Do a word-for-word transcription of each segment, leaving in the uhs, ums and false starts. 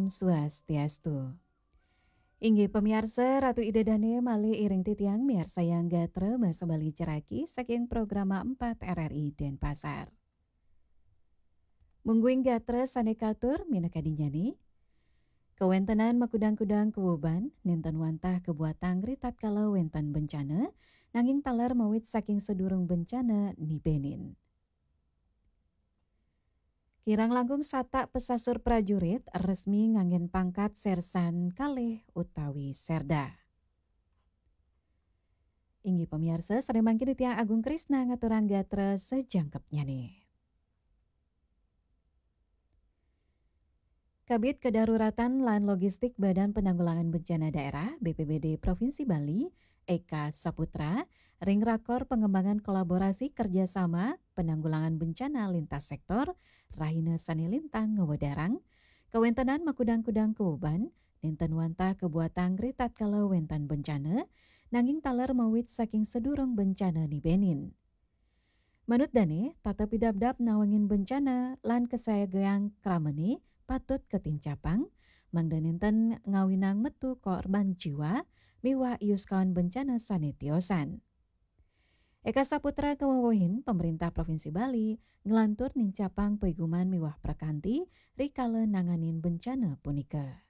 Swastiastu. Inggih pamiarsa, Ratu Ida Dane malih iring titiang miarsayang gatra basa Bali ceraki saking Programa empat R R I Denpasar. Mungguing gatra sane katur minakadinyane, kawentenan makudang-kudang kawuban nenten wantah kabuatang ritatkala wenten bencana, nanging taler mawit saking sadurung bencana nibenin. Kirang langkung satak pasasur prajurit resmi nganggen pangkat Sersan kalih utawi Serda. Inggih pamiarsa, sare mangkin titiang Agung Krisna ngaturang gatra sajangkepnyane. Kabid Kedaruratan lan Logistik Badan Penanggulangan Bencana Daerah, B P B D Provinsi Bali, Eka Saputra, ring rakor pengembangan kolaborasi kerjasama penanggulangan bencana lintas sektor, rahina sane lintang ngawedarang, kawentenan makudang-kudang kawuban, nenten wantah kabuatang ritatkala wenten bencana, nanging taler mawit saking sadurung bencana nibenin. Manut dane, tata pidabdab nawangin bencana lan kasiagaan kramane patut katincapang, mangda nenten ngawinang metu korban jiwa miwah iuskawan bencana sane tiosan. Eka Saputra kawewehin Pemerintah Provinsi Bali nglantur nincapang paiguman miwah prakanti rikala nanganin bencana punika.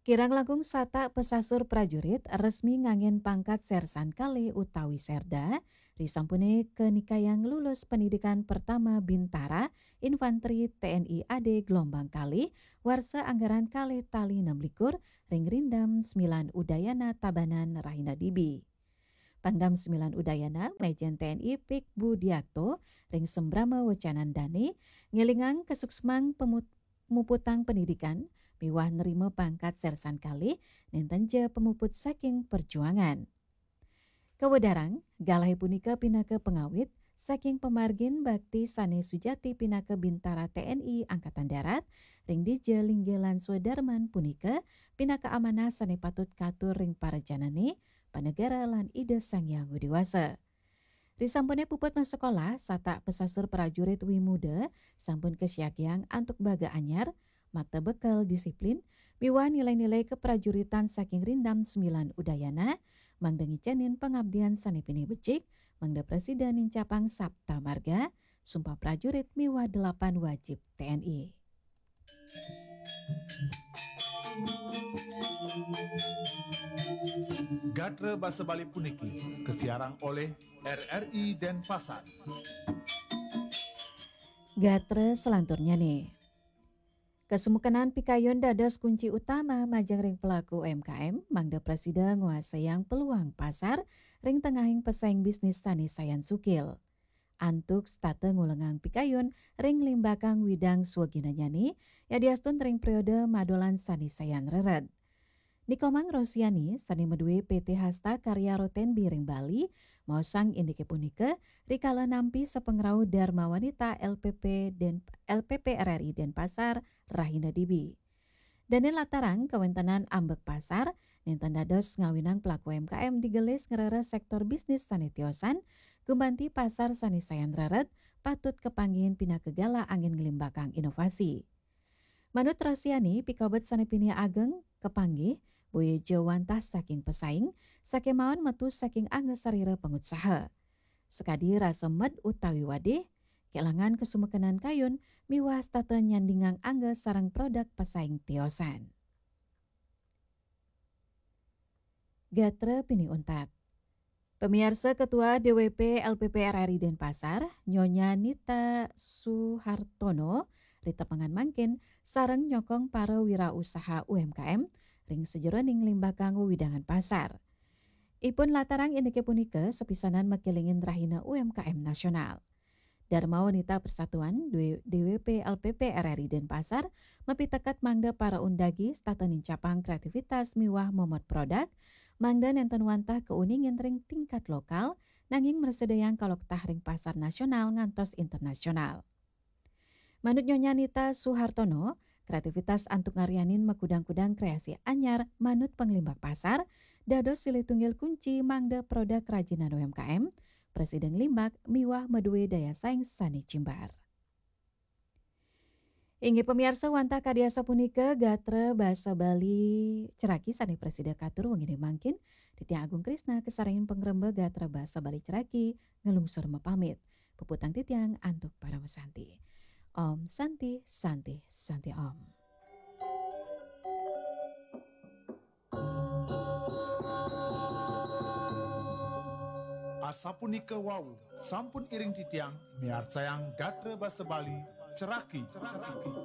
Kirang langkung satak pasasur prajurit resmi nganggen pangkat Sersan kalih utawi Serda, risampune kanikayang lulus pendidikan pertama Bintara Infanteri T N I A D gelombang kalih, warsa anggaran kalih tali enam likur, ring Rindam Sembilan Udayana Tabanan rahina dibi. Pangdam Sembilan Udayana, Majen T N I Pik Budiakto, ring sembrama wecanan dane, ngelingang kasuksmang pemut-, pemuputang pendidikan, miwah nerima pangkat Sersan kalih, nenten ja pemuput saking perjuangan. Kawedarang, galahe punika pinaka pangawit saking pamargin bakti sane sujati pinaka Bintara T N I Angkatan Darat, ring dija linggih lan swadarman punika pinaka amanah sane patut katur ring parajanane, panegara lan Ida Sang Hyang Widi Wasa. Risampune puput masekolah, satak pasasur prajurit wimuda sampun kasiagiang antuk baga anyar, makta bekel disiplin, miwah nilai-nilai keprajuritan saking Rindam Sembilan Udayana, mangda ngicenin pangabdian sane pinih becik, mangda prasida nincapang sapta marga, sumpah prajurit miwah delapan wajib T N I. Gatra basa Bali puniki kasiarang olih R R I Denpasar. Gatra selanturnyane. Kasumekenan pikayun dados kunci utama majeng ring pelaku U M K M, mangda prasida nguasayang peluang pasar ring tengahing pesaing bisnis sane sayan sukil. Antuk setata ngulengang pikayun ring nglimbakang widang swaginanyane, yadiastun ring periode madolan sane sayan rered. Nikomang Rosiani, sane madue P T Hasta Karya Rotenbi ring Bali, maosang indike punika rikala nampi sapangrauh Dharma Wanita L P P Den-, L P P R R I Denpasar, rahina dibi. Dane latarang kawentenan ambek pasar, nenten dados ngawinang pelaku U M K M digelis ngreres sektor bisnis sane tiosan, gumanti pasar sane sayan rered, patut kapanggihin pinaka galah anggen nglimbakang inovasi. Manut Rosiani, pikobet sane pinih ageng, kapanggih, boya ja wantah saking pesaing, sakemaon metu saking angga sarira pangutsaha. Sakadi rasa med utawi wadih, kelangan kasumekenan kayun, miwah setata nyandingang angga sareng produk pesaing tiosan. Gatra pinih untat. Pamiarsa, Ketua D W P L P P R R I Denpasar, Nyonya Nita Suhartono, ritepengan mangkin, sareng nyokong para wirausaha U M K M, ring sajeroning nglimbakang wewidangan pasar. Ipun latarang indike punika sapisanan makelingin Rahina U M K M Nasional. Dharma Wanita Persatuan, D W P L P P R R I Denpasar, mapiteket mangda para undagi setata nincapang kreativitas miwah momot produk, mangda nenten wantah kauningin ring tingkat lokal, nanging mrasidayang kaloktah ring pasar nasional ngantos internasional. Manut Nyonya Nita Suhartono, kreativitas antuk ngaryanin makudang-kudang kreasi anyar manut panglimbak pasar, dados silih tunggil kunci mangda produk kerajinan U M K M, Presiden Limbak miwah madué daya saing sané jembar. Inggih pamiarsa, wantah kadi asapunika gatra basa Bali ceraki sané prasida katur wenginé mangkin. Titiang Agung Krisna kasarengin pangremba gatra basa Bali ceraki nglungsur mapamit. Puputang titiang antuk paramasanti. Om Santi, Santi, Santi Om. Asapunika wau, sampun iring titiang miarcayang gatra basa Bali ceraki.